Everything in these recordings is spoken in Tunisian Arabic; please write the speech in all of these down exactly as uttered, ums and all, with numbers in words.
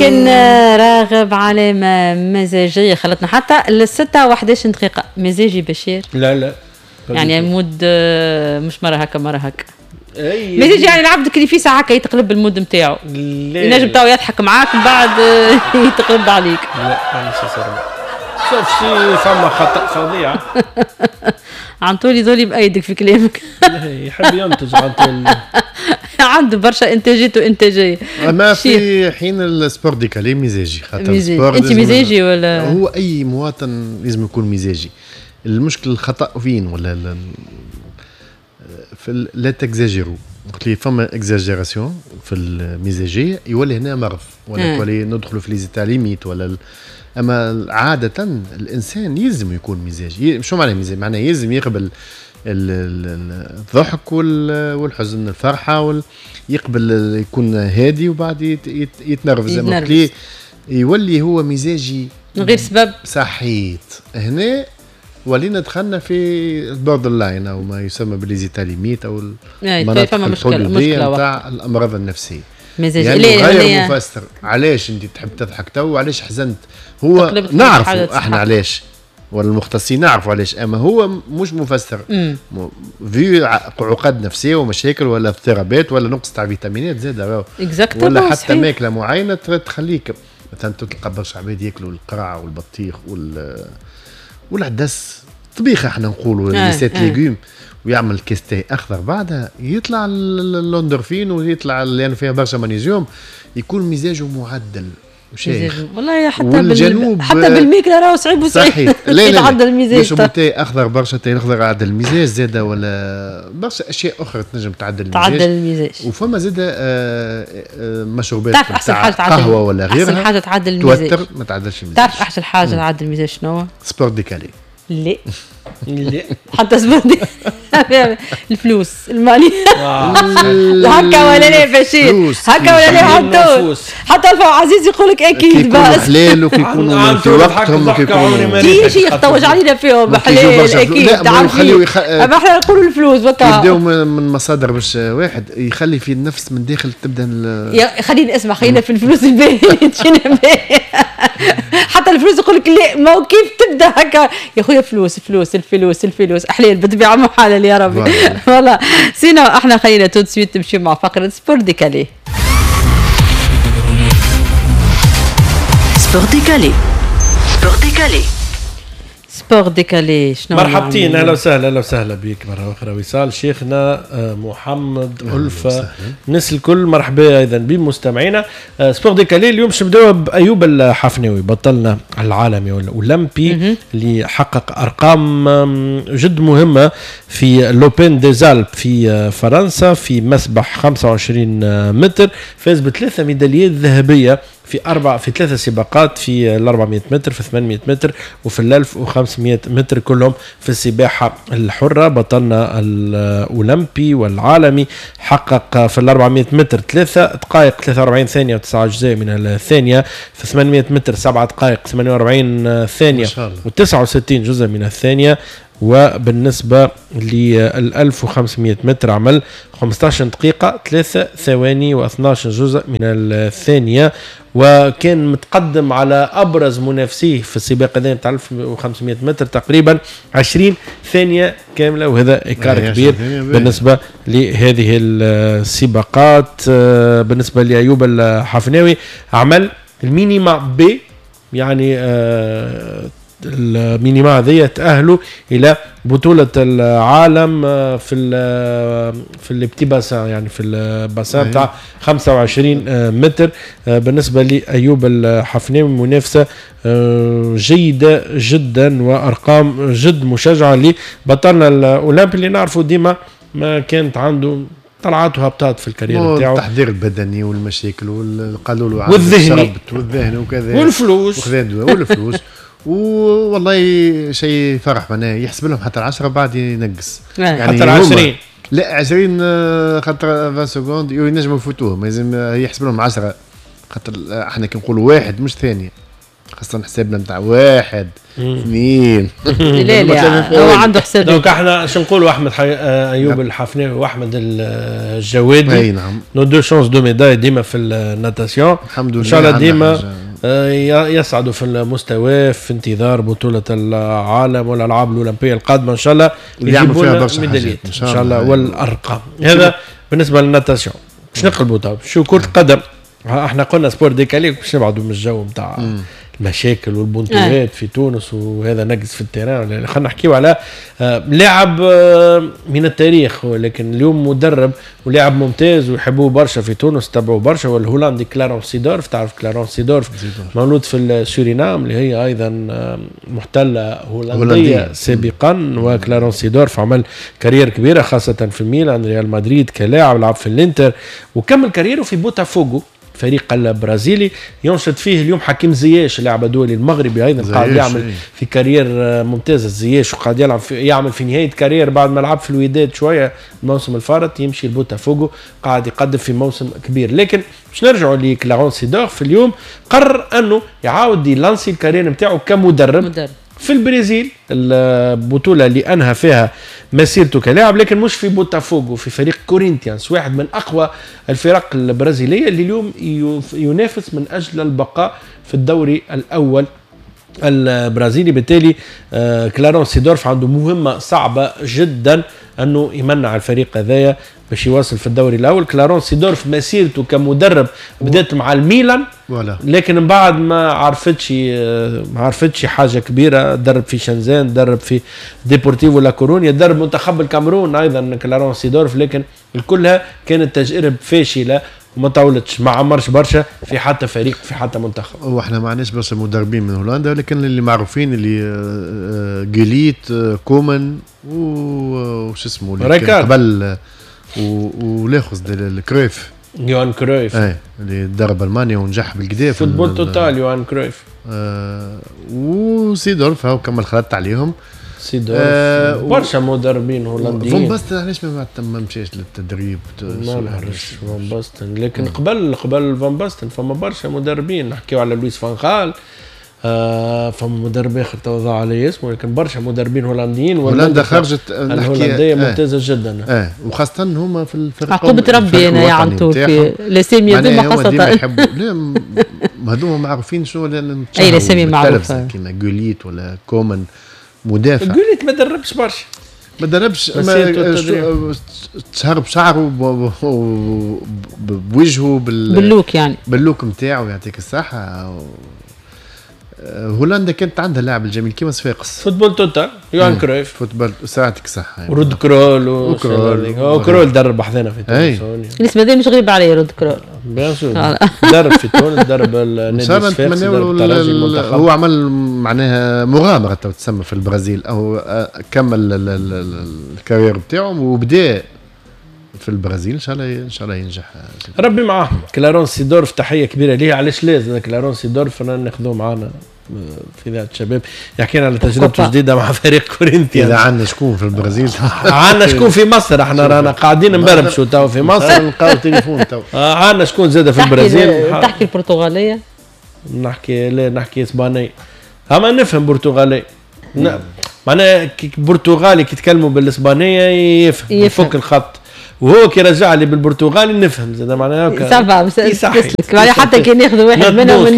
كان راغب علامة مزاجية خلتنا حتى للستة وحداش دقيقة. مزاجي بشير؟ لا لا، يعني mood مش مرة هكا مرة هكا. مزاجي يعني العبد اللي في ساعة هكا يتقلب ال mood نتاعو، ينجم تو يضحك معاك من بعد يتقلب عليك. لا مانيش شوف شي فما خطأ فظيع. عنطولي ذولي بأيدك في كلامك. يحب ينتج عنطولي، عنده برشا انتاجات وانتاجيه. اما في حين ال sport décalé مزاجي، خاطر ال sport. انت مزاجي ولا؟ هو اي مواطن لازم يكون مزاجي. المشكل الخطا فين ولا في لا تكزاجيرو، قلت لي فما exagération في المزاجية يولي هنا مرض ولا يولي ندخلوا في les états limites ولا ال... اما عادة الانسان يلزم يكون مزاجي. شو معنى مزاجي؟ معناه يلزم يقبل الضحك والحزن، الفرحة وال... يقبل يكون هادي وبعد يت... يت... يتنرفز. يتنرفز يولي هو مزاجي من غير سبب. صحيت هنا ولينا دخلنا في ال borderline او ما يسمى ب les états limites او المناطق الحدوديه نتاع الامراض النفسية. مزاجي يعني غير مفسر علاش انت تحب تضحك تو وعلاش حزنت. هو نعرفوا احنا علاش ولا المختصين نعرفوا علاش، اما هو مش مفسر في عقد نفسية ومشاكل ولا اضطرابات ولا نقص تاع فيتامينات زاد ولا حتى ماكله معينة تخليك مثلا تلقى برشا عباد ياكلوا القرع والبطيخ وال والعدس طبيخه احنا نقولوا les sept légumes، ويعمل كاس تاي اخضر بعدها يطلع الاندورفين ويطلع لانه فيها برشا مغنيسيوم، يكون مزاجه معدل وشيخ. والله حتى بال... حتى بالميكله راهو صعيب وصعيب يتعدل المزاج. يشربوا تاي اخضر برشا، تاي اخضر عدل المزاج زاده، ولا برشا اشياء اخرى تنجم تعدل المزاج. تعدل المزاج. وفما زاده مشروبات تعرف احسن حاجة تعدل قهوة ولا غيرها، احسن حاجة تعدل المزاج توتر ما تعدلش المزاج. تعرف احسن حاجة تعدل المزاج شنو؟ sport décalé. لا لا حتى sport الفلوس المالية هكا ولا لا بشير؟ هكا ولا لا؟ حتى حتى الفا عزيز يقول لك اكيد بس حلال وكيكونوا في وقتهم وكيكونوا كي يختوج علينا فيهم حلال اكيد. تعرف اما احنا نقولوا الفلوس وكا يبداو من مصادر باش واحد يخلي في النفس من داخل تبدا. خلينا اسمع، خلينا في الفلوس الباهية تجينا باهية. حتى الفلوس يقول لك لا ما هو كيف تبدا هكا يا خويا فلوس فلوس الفلوس الفلوس حلال بالطبيعة محلل يا ربي. voilà sinon احنا خلينا tout de suite نمشيو مع فقره sport décalé. sport décalé، sport décalé، sport décalé. شنو مرحبتين، اهلا وسهلا، اهلا وسهلا بك مرة اخرى وصال. شيخنا محمد ألفة، الناس الكل مرحبا ايضا بمستمعينا. sport décalé اليوم باش نبداو بايوب الحفناوي، بطلنا العالمي والاولمبي اللي حقق ارقام جد مهمة في l'Open des Alpes في فرنسا في مسبح خمسة وعشرين متر، فاز بثلاثة ميداليات ذهبية في أربع في ثلاثة سباقات، في ال أربعمية متر، في ثمانمية متر، وفي ال ألف وخمسمية متر، كلهم في السباحة الحرة. بطلنا الأولمبي والعالمي حقق في ال أربعمية متر ثلاثة دقائق ثلاثة وأربعين ثانية وتسعة أجزاء من الثانية، في ثمانمية متر سبعة دقائق ثمانية وأربعين ثانية وتسعة وستين جزء من الثانية، وبالنسبة لل ألف وخمسمية متر عمل خمسة عشر دقيقة ثلاثة ثواني واثناش جزء من الثانية، وكان متقدم على أبرز منافسيه في السباق هذا نتاع ألف وخمسمية متر تقريبا عشرين ثانية كاملة، وهذا écart كبير بالنسبة لهذه السباقات. بالنسبة لأيوب الحفناوي عمل ال minima B، يعني آه ال minima هذه تأهلوا إلى بطولة العالم في ال في ال petit bassin، يعني في ال bassin تاع خمسة وعشرين متر. بالنسبة لأيوب الحفناوي منافسة جيدة جدا وأرقام جد مشجعة لبطلنا الأولمبي اللي نعرفه ديما ما كانت عنده طلعات وهبطات في ال carrière نتاعو، التحضير البدني والمشاكل والقالوا له والذهني والذهن وكذا والفلوس والفلوس والله شيء فرح، معناها يحسب لهم حتى العشرة بعد ينقص يعني حتى العشرين، لا عشرين خاطر عشرين secondes ينجموا يفوتوهم، لازم يحسب لهم عشرة خاطر احنا كي نقولوا واحد مش ثانية، خاصة حسابنا نتاع واحد اثنين. لا لا هو عنده حساب. donc احنا شو نقولوا احمد حي... ايوب الحفناوي واحمد الجوادي، اي نعم، nos deux chances de médaille ديما في ال natation. الحمد لله ان شاء الله ديما يصعدوا في المستوى في انتظار بطولة العالم والألعاب الأولمبية القادمة إن شاء الله، يجيبوا فيها برشا ميداليات إن شاء الله والأرقام. هذا بالنسبة لل natation. باش نقلبوا طب شو كرة القدم، احنا قلنا sport décalé باش نبعدوا من الجو نتاع المشاكل والبونتوات في تونس وهذا نقص في ال terrain. خلينا نحكيو على لاعب من التاريخ، ولكن اليوم مدرب ولاعب ممتاز ويحبوه برشا في تونس، تبعوه برشا، والهولندي كلارونس سيدورف. تعرف كلارونس سيدورف مولود في السورينام اللي هي ايضا محتلة هولندية سابقا، وكلارونس سيدورف عمل carrière كبيرة خاصة في الميلان، ريال مدريد كلاعب، لعب في الانتر وكمل carrière ه في بوتافوغو فريق البرازيلي ينشط فيه اليوم حكيم زياش اللاعب الدولي المغربي ايضا قاعد يعمل في carrière ممتازة زياش، وقاعد يلعب في يعمل في نهاية carrière بعد ما لعب في الوداد شوية الموسم الفارط، يمشي لبوتافوغو قاعد يقدم في موسم كبير. لكن باش نرجعوا لكلارونس سيدورف، اليوم قرر انه يعاود يلانسي ال carrière نتاعو كمدرب مدرب في البرازيل، البطولة اللي أنهى فيها مسيرته كلاعب، لكن مش في بوتافوغو، في فريق كورينتيانس، واحد من أقوى الفرق البرازيلية اللي اليوم ينافس من أجل البقاء في الدوري الأول البرازيلي. بالتالي كلارونس سيدورف عنده مهمة صعبة جدا أنه يمنع الفريق هذايا باش يواصل في الدوري الأول. كلارونس سيدورف مسيرته كمدرب بدأت مع الميلان، لكن من بعد ما عرفتش ما عرفتش حاجة كبيرة. درب في شنزان، درب في ديبورتيفو لا كورونيا، درب منتخب الكاميرون أيضا كلارونس سيدورف، لكن كلها كانت تجارب فاشلة وما طولتش، ما عمرش برشا في حتى فريق في حتى منتخب. واحنا ما عندناش برشا مدربين من هولندا، ولكن اللي معروفين اللي جيليت، كومان، وش اسمه قبل، ولاخذ الكرويف، يوهان كرويف، اي اللي درب المانيا ونجح بالكدا في football total يوهان كرويف. آه وسيدورف هاو كمل خلطت عليهم سيدورف. آه برشا مدربين هولنديين. فون باستن علاش ما ما مشاش للتدريب؟ ما نعرفش فون باستن، لكن قبل قبل فون باستن فما برشا مدربين. نحكيو على لويس فان خال، آه فما مدرب اخر تو ضاع علي اسمه، لكن برشا مدربين هولنديين. هولندا خرجت الهولندية ممتازة جدا، اه وخاصة هما في الفرق عقوبه ربي انا يا عنتور في الاسامي هذوما خاصة يحبوا لا هذوما معروفين شنو، لان اي الاسامي معروفة كيما جوليت ولا كومان مدافع. جوليت ما دربش برشا، ما دربش، تشهر بشعره بوجهه بال بال look، يعني بال look نتاعو يعطيك الصحة. هولندا كانت عندها اللاعب الجميل كيما صفاقس، football total يوهان كرويف، football ساعتك صح، يعني. رود كرول و كرول درب حذانا في تونس. الاسم هذا مش غريب عليه رود كرول، bien sûr درب في تونس، درب النادي الصفاقسي، درب الترجي، المنتخب. هو عمل معناها مغامرة تسمى في البرازيل، او كمل ال carrière بتاعه وبدا في البرازيل. ان شاء الله ان شاء الله ينجح، ربي معاه. كلارونس سيدورف تحية كبيرة ليه. علاش لازم كلارونس سيدورف ناخذوه معنا في ذات الشباب، يحكينا على تجربته الجديدة مع فريق كورنثيانز. اذا عندنا شكون في البرازيل عندنا شكون في مصر، احنا رانا قاعدين نبربشوا تو في مصر، نلقاو تليفون تو. عندنا شكون زاده في البرازيل. تحكي البرتغالية؟ نحكي لا نحكي اسبانية، اما نفهم برتغاليه. معناها برتغالي كي يتكلموا بالاسبانيه يفهم، يفك الخط، وهو كي رجع لي بالبرتغالي نفهم زاد معناها ça va تسلك معناها حتى كي ناخذ واحد منهم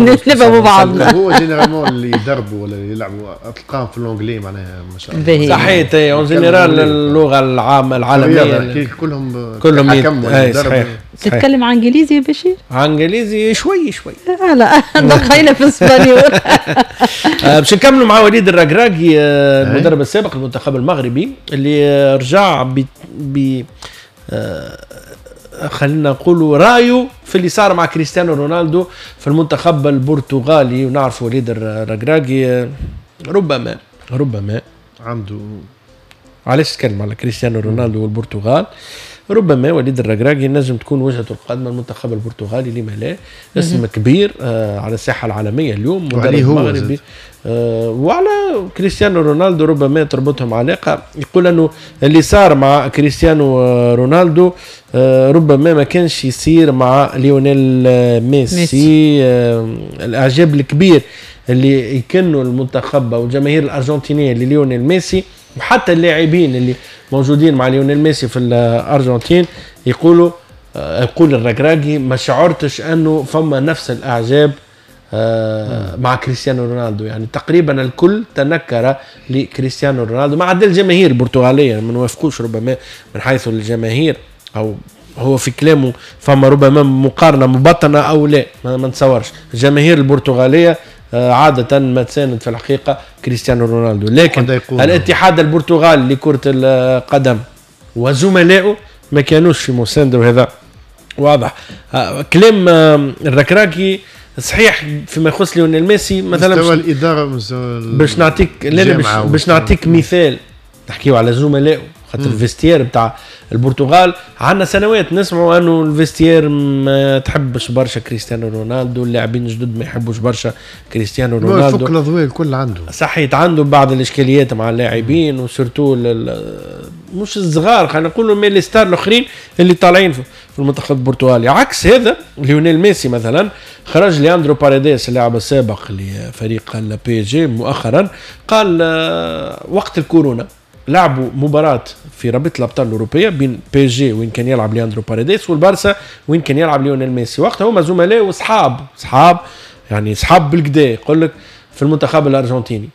نفهموا بعضنا. هو généralement اللي يدربوا ولا اللي يلعبوا تلقاهم في l'anglais معناها ما شاء الله. صحيح، en général اللغة العامة العالمية كلهم كلهم صحيح. تتكلم انجليزي يا بشير؟ انجليزي شوي شوي. لا دخلنا في espagnol. باش نكملوا مع وليد الركراكي المدرب السابق للمنتخب المغربي اللي رجع ب ب خلينا نقولوا رايه في اللي صار مع كريستيانو رونالدو في المنتخب البرتغالي. ونعرف وليد الركراكي ربما ربما عنده علاش تكلم على كريستيانو رونالدو والبرتغال. ربما وليد الركراكي نجم تكون وجهته القادمة المنتخب البرتغالي، لما لا، اسم كبير آه على الساحة العالمية اليوم، مدرب مغربي آه وعلى كريستيانو رونالدو ربما تربطهم علاقة. يقول انه اللي صار مع كريستيانو رونالدو آه ربما ما كانش يصير مع ليونيل ميسي, ميسي. آه الاعجاب الكبير اللي يكنوا المنتخب والجماهير الارجنتينية لليونيل ميسي، وحتى اللاعبين اللي موجودين مع ليونيل ميسي في الارجنتين يقولوا آه يقول الركراكي ما شعرتش انه فما نفس الاعجاب آه مع كريستيانو رونالدو. يعني تقريبا الكل تنكر لكريستيانو رونالدو ما عدا الجماهير البرتغالية، ما نوافقوش ربما من حيث الجماهير، او هو في كلامه فما ربما مقارنة مبطنه او لا، ما نتصورش. الجماهير البرتغالية عادة ما تساند في الحقيقة كريستيانو رونالدو، لكن الاتحاد البرتغالي لكرة القدم وزملائه ما كانوش في مساندة، وهذا واضح. كلام الركراكي صحيح فيما يخص ليونيل ميسي مثلا، مستوى الإدارة مستوى باش نعطيك لا باش, باش نعطيك مثال، نحكيو على زملائه خاطر ال vestiaire بتاع البرتغال عندنا سنوات نسمعوا انه ال vestiaire ما تحبش برشا كريستيانو رونالدو، اللاعبين الجدد ما يحبوش برشا كريستيانو رونالدو، فك الاضواء الكل عنده صحيح، عنده بعض الاشكاليات مع اللاعبين و surtout مش الصغار خلينا نقولوا mais les stars الاخرين اللي طالعين في المنتخب البرتغالي. عكس هذا ليونيل ميسي مثلا خرج لياندرو باريديس اللاعب السابق لفريق ال PSG مؤخرا، قال وقت الكورونا لعبوا مباراة في رابطة الأبطال الأوروبية بين PSG وين كان يلعب لياندرو باريديس والبارسا وين كان يلعب ليونيل ميسي، وقتها هما زملاء وصحاب، صحاب يعني صحاب بالكدا يقول لك في المنتخب الأرجنتيني.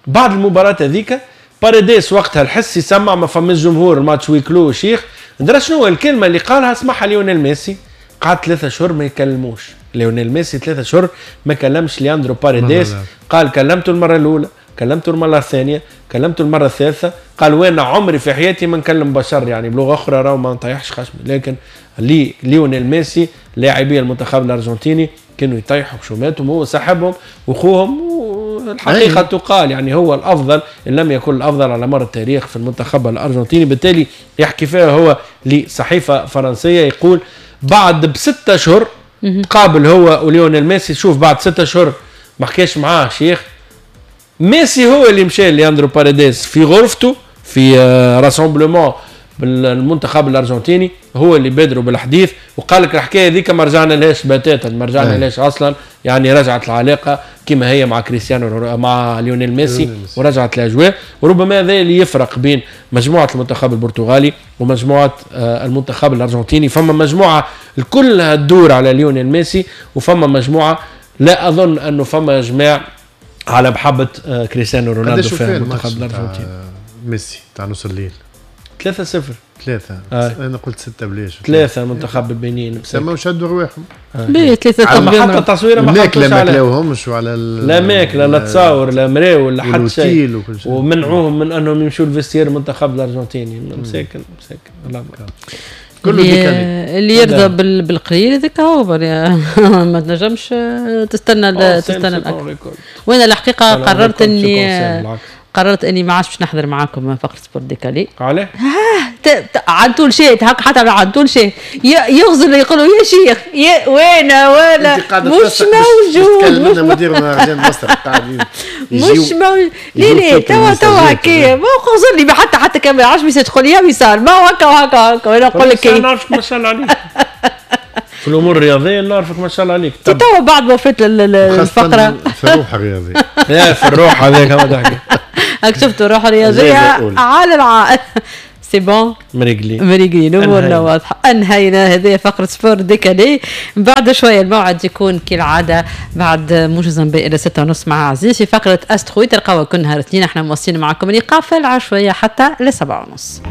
بعد المباراة هذيك باريديس وقتها الحس يسمع ما فماش جمهور، الماتش huis clos شيخ، ندرى شنو الكلمة اللي قالها سمعها ليونيل ميسي، قعد ثلاثة شهور ما يكلموش ليونيل ميسي، ثلاثة شهور ما كلمش لياندرو باريديس، قال كلمته المرة الأولى، كلمته المرة الثانية، كلمته المرة الثالثة، قال وين عمري في حياتي ما نكلم بشر، يعني بلغة أخرى راهو ما نطيحش خشمي. لكن لي ليونيل ميسي لاعبي المنتخب الأرجنتيني كانوا يطيحوا خشوماتهم، هو صاحبهم وأخوهم، والحقيقة تقال يعني هو الأفضل إن لم يكن الأفضل على مر التاريخ في المنتخب الأرجنتيني. بالتالي يحكي فيها هو لصحيفة فرنسية، يقول بعد بستة أشهر تقابل هو وليونيل ميسي، شوف بعد ستة أشهر ما حكاش معاه شيخ، ميسي هو اللي مشى لياندرو باريديس في غرفته في rassemblement بالمنتخب الارجنتيني، هو اللي بادروا بالحديث وقال لك الحكاية هذيك ما رجعنا لهاش بتاتا، ما رجعنا لهاش اصلا، يعني رجعت العلاقة كما هي مع كريستيانو مع ليونيل ميسي ورجعت الاجواء. وربما هذا اللي يفرق بين مجموعة المنتخب البرتغالي ومجموعة المنتخب الارجنتيني، فما مجموعة الكلها تدور على ليونيل ميسي، وفما مجموعة لا اظن انه فما اجماع على محبة كريستيانو رونالدو في المنتخب الأرجنتيني. ميسي تاع نص الليل ثلاثة صفر ثلاثة آه. أنا قلت ستة بلاش ثلاثة منتخب البنين سما وشدوا رواحهم ليه ثلاثة حتى التصويرة ما الماكلة ما كلاوهمش وعلى لا ماكلة لا تصاور لا مراول لا حتى شيء، ومنعوهم من أنهم يمشوا ال vestiaire المنتخب الأرجنتيني. مساكن مساكن الله كله اللي, اللي يرضى بالقليل هذاك هو ما تنجمش تستنى تستنى الاكثر. وانا الحقيقة قررت اني قررت اني ما عادش باش نحضر معاكم فقره sport décalé. علاه؟ عن طول شيء هكا حتى عن طول شيء يغزل يقولوا يا شيخ يا وين ولا مش موجود، مش مدير مهرجان مصر مش موجود. ليه ليه توا توا هكا ما غزر لي حتى حتى كان ما يعرفش message تقول يا وصال ما هو هكا وهكا وهكا وانا نقول لك انا نعرفك ما شاء الله عليك في الامور الرياضية، نعرفك ما شاء الله عليك. توا بعد ما فات الفقرة في الروح الرياضية لا في الروح هذاك ما تحكي هاك شفتوا الروح الرياضية على العائل c'est bon مريقلين مريقلين امورنا واضحة. انهينا هذه فقره sport décalé. بعد شوية الموعد يكون كالعادة بعد موجز الى ستة ونص مع عزيز في فقره استرويد، تلقاوها كل نهار اثنين. احنا مواصلين معكم اللقاء في العشوائية حتى لسبعة ونص.